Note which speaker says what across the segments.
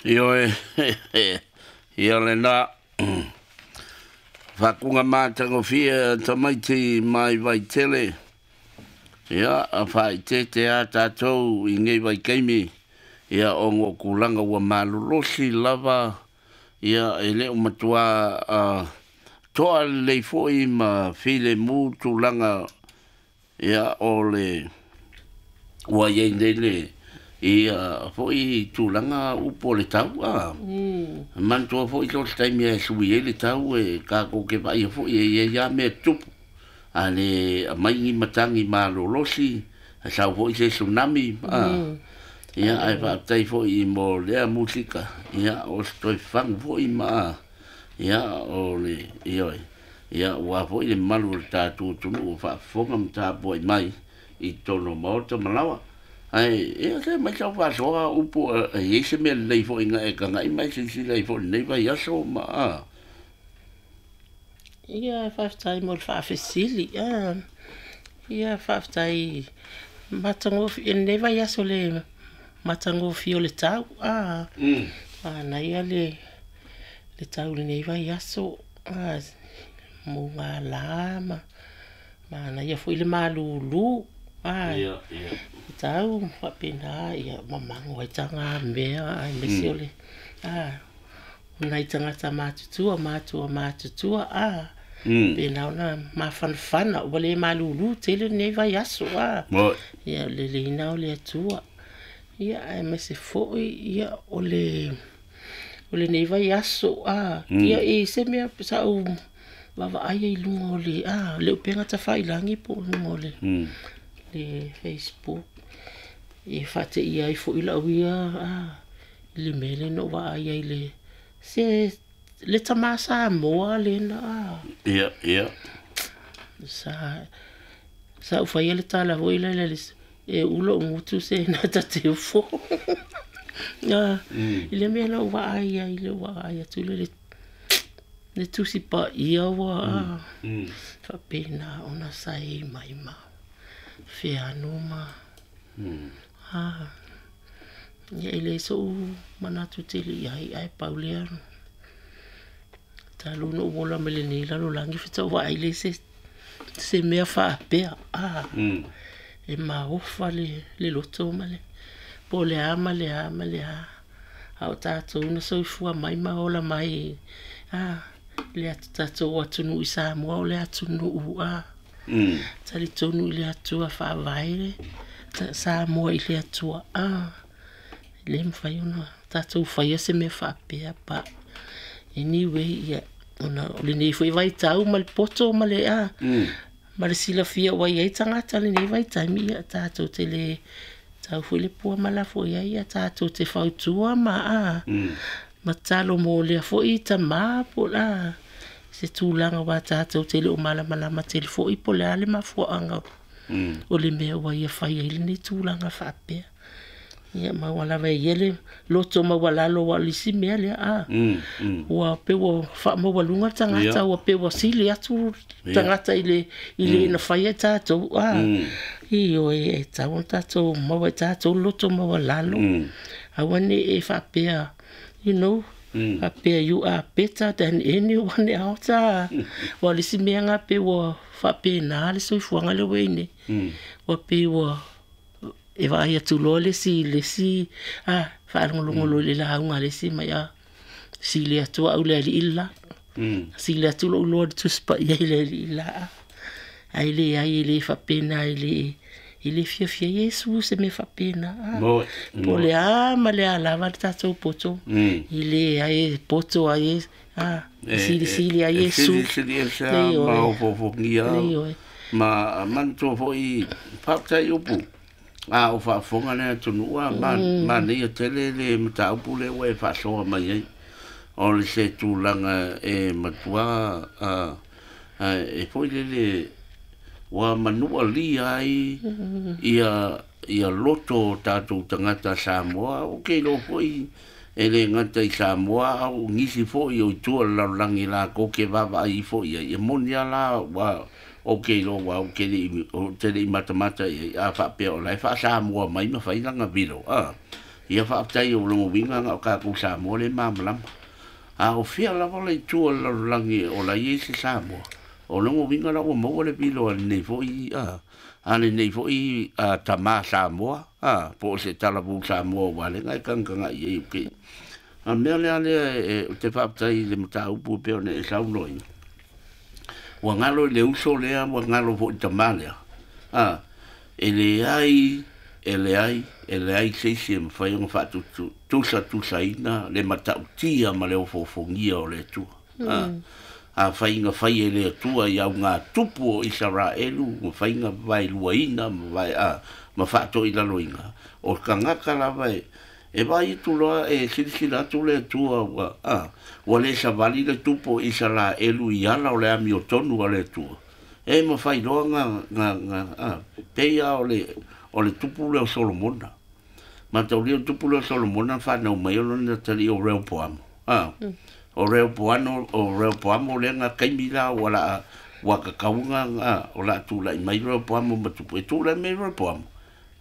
Speaker 1: Ioe, ia lena faakuga matagofie tamaiti mai Vaitele. Ia, a faaiteite a tatou i nei vaitaimi, ia ona o tulaga ua malolosi lava, ia e le o matua toa lelei foi ma filemu tulaga, ia o le ua iai nei le ia foi tulaga upu o le tau a. Manatua foi so o se taimi e sui ai le tau e tatou te vaaia foi e iai lava mea tutupu. A le aumai ni matagi malolosi, e sau foi se tsunami a. Ia ae faafetai foi mo lea musika, ia o se toe fagu foi ma ia o le ioe. Ia ua foi le mamalu o le tatou atunuu o faafofoga ma tapuai mai i totonu o maota ma laoa. Ae ia se mai sau faasoa upu e i ai se mea lelei foi na e tagai ma e silasila ai foi i lenei vaiaso ma a.
Speaker 2: Ia, faafetai mo le faafesili. Ia, faafetai matagofie lenei vaiaso le matagofie o le tau. Manaia le tau i lenei vaiaso. Mugala ma manaia foi le malulu. Le tau faapena ia mamago ai tagamea aemaise o le o nai tagata matutua, matua matutua, pena ona mafanafana ua le malulu tele lenei vaiaso. Ia, o le leina o le Atua. Ia, aemaise foi ia o le lenei vaiaso. Ia, e se mea sa ou vaavaai ai i luga o le le upega tafailagi po o luga o le Facebook, e faateia ai foi lau ia i le mea lea na ou vaai ai le se le tamā Samoa lena
Speaker 1: Ia, ia.
Speaker 2: Sa ou faia le tala foi lele e uu lou gutu se na ta te ufo. I le mea na ou vaai ai, le vaai atu le le Tusi Paia ua faapena ona saei mai ma feanu ma ia e le so'u manatu tele i ai, ae pau lea talu ona ou ola mai lenei lalolagi faatoa ou vaai lea i se mea faapea e maofa le loto ma le po o le a ma le a ma le a, a o tatou na soifua mai ma ola mai le tatou atunuu i Samoa, o le atunuu talitonu i le Atua, faavae Samoa i le Atua. E le mafai ona tatou faia se mea faapea. But anyway, ia ona o lenei foi vaitau ma le poto ma le ma le silafia ua i ai tagata i lenei vaitaimi, ia tatou te le tau foi le pua ma lafo i ai, ia tatou te fautua ma ma tatalo mo lea foi tamā po o se tulaga aua tatou te le o malamalama tele foi po o le a le mafuaaga o le mea ua ia fai ai lenei tulaga faapea. Ia ma ua lava e ia le loto maualalo, aua o le isi mea lea ua pei ua faamaualuga le tagata, ua pei ua sili atu tagata i le na faia tatou. Ioe, e tatau ona tatou maua e tatou le loto maualalo, aua ne i e faapea, faapea you are better than anyone else. Aua o le isi mea lena pei ua faapena le soifuaga lea ua i ai nei, ua pei ua e vaai atu loa le isi faalogologo loa i le lauga a le isi mai, sili atu au i le alii le la, sili atu lou iloa i le Tusi Paia i le alii le la. Ae leai, e le faapena, e le fiafia Iesu se mea faapena. Po o le a ma le a lava le tatou poto, e leai, e poto ai e silisili ai Iesu.
Speaker 1: Silisili ese ma ofoofogia ma manatua foi. Faafetai upu a o faafofoga le atunuu a manaia tele le mataupu lea ua e faasoa mai ai, o le se tulaga e matua e foi lele ua manualia ai ia loto o tatou tagata Samoa. Ou te iloa foi e le gata i Samoa, a o nisi foi o i tua o le lalolagi latou te vaavaai ifo i ai. E moni lava la, ua ou te iloa ua ou te le i matamata i ai a faapea o la e faa-Samoa mai ma fai lana video. Ia faafetai o logo uiga na o tatou Samoa le malamalama. A o fia lava le itu o le lalolagi o la i ai se Samoa. O logo uiga la ua maua le vilo a lenei foi a lenei foi tamā Samoa po o se talavou Samoa ua le ngai kagakaga i ai o ke. A mea lea lea e te faafetai i le mataupu e pei ona e saunoa ai. Ua galo i le uso lea, ua galo foi i le tamā lea. E leai, e leai, e leai se isi e mafai ona faatusatusaina le matautia ma le ofoofogia o le Atua. Afai na fai e le Atua i augatupu o Isaraelu, ma faiga vaeluaina ma vae ma faatoilaloina, o tagata lava e vaai atu loa e silasila atu le Atua ua ua le savali le tupu o Isaraelu i ala o le amiotonu a le Atua. E mafai loa na pei lava o le tupu lea o Solomona. Mataulia o le tupu lea o Solomona whanau mai o lona tali o Rehoboamo. O Rehoboamo, o Rehoboamo lea nga kaimi la ua la ua kakauga o la tūlai mai Rehoboamo ma tupu. E tūlai mai Rehoboamo.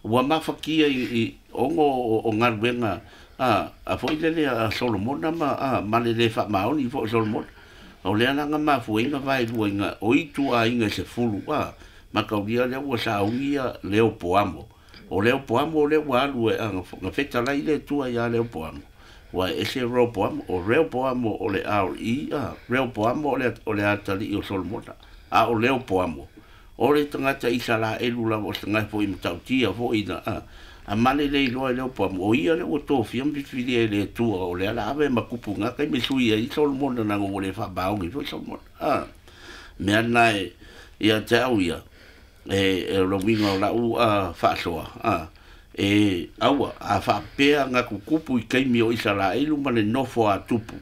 Speaker 1: Ua mafakia i ongo o galuega a foi lele a Solomona ma ma le le faamaoni foi o Solomona. O lea la nga mafuaiga vaeluaina o itu aiga se fulu mataulia lea ua saugia Rehoboamo. O Rehoboamo lea ua alu e nga fetalai le Atua ia Rehoboamo. Ua ese Rehoboamo, o Rehoboamo o le RE, Rehoboamo o le atalii o Solomona. A o Rehoboamo, o le tagata Isaraelu lava o se tagata foi matautia foi na a male le iloa i Rehoboamo. O ia lea ua tofia ma filifilia e le Atua o lea la ave ma kupu ngaka i me sui ai Solomona na ua le faamaogi foi Solomona. Mea na e ia te au ia, e lo uiga o lau faasoa e aua a faapea nga kukupu i kaimi o Isaraelu ma le nofo a tupu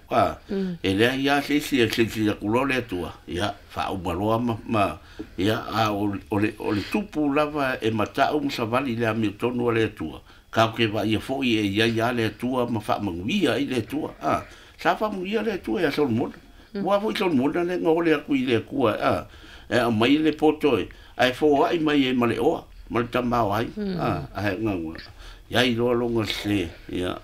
Speaker 1: e leai lava se isi e silasila atu loa le Atua ia faauma loa ma ia a o le tupu lava e matau ma savali le amiotonu a le Atua tatou te vaaia foi e iai lava le Atua ma faamanuia ai le Atua sa faamanuia le Atua ia Solomona. Ua foi Solomona le na ole atu i le Atua e aumai le poto e ae foai mai e ma le oa ma le tamao ai ae nga iai loa longa se ia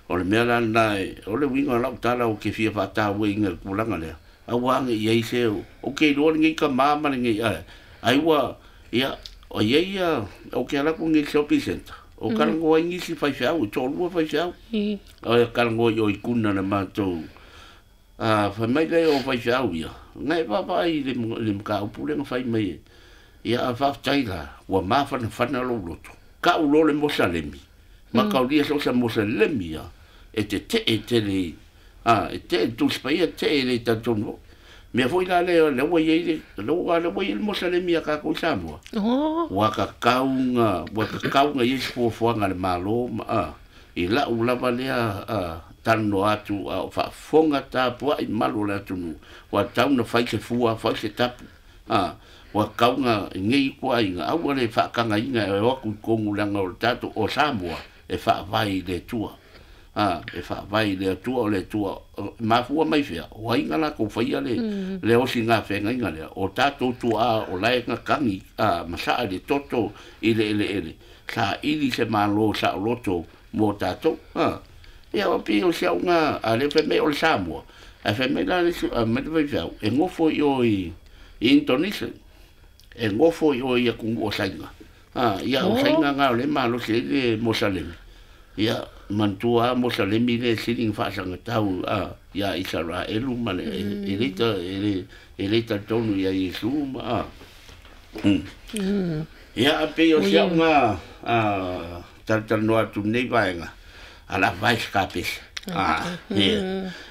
Speaker 1: o le mea la lena o le uiga o lau tala o ke fia faatauaina i le tulaga lea aua age i ai se o ke iloa lenei tamā ma lenei ai ua ia o iai ia o ke ala atu nei i le shopping centre o talanoa ai nisi faifeau e toalua faifeau o e talanoa i o i kuna le matou fai mai lea o faifeau ia na e vaavaai i le mataupu lea na fai mai e ia a faafetai la ua mafanafana lou loto ka'u loa le mosalemi mataulia so o se mosalemi ia e tete'e tele e te'e Tusi Paia te'e le talitonu foi mea foi la lea lea ua iai le lea ua iai le mosalemi a tatou i Samoa. Ua kakauga iai se fuafuaga a le Malo ma i la'u lava lea talanoa atu a o faafofoga tapua'i malu o le atunuu ua tatau na fai se fua fai se tapu ua tatau nei ituaiga aua le faatagaina e o atu i totonu leaga o le tatou o Samoa e faavae i le Atua. E faavae i le Atua o le Atua mafua mai fea o ai na latou faia le osiga feagaiga lea o tatou tuaa o lae na tagi ma sa'a i le toto i le eleele saili se malo saoloto mo tatou ia o pei o si auga a le fai mai o le Samoa ae fai mai la le mai le faifeau e gofo i o i Indonesia e gofo i o i atunuu o Saina ia o Saina na o le malosi ai le mosalemi ia manatua mosalemi le sili na faasagatau ia Isaraelu ma le e le talitonu ia Iesu ma ia a pei o si auga talatalanoa atu nei vaega ala vai se kapese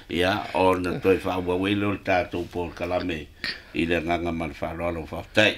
Speaker 1: ia ona toe faaauau ai lea o le tatou polokalame i le agaga ma le faaaloalo. Faafetai.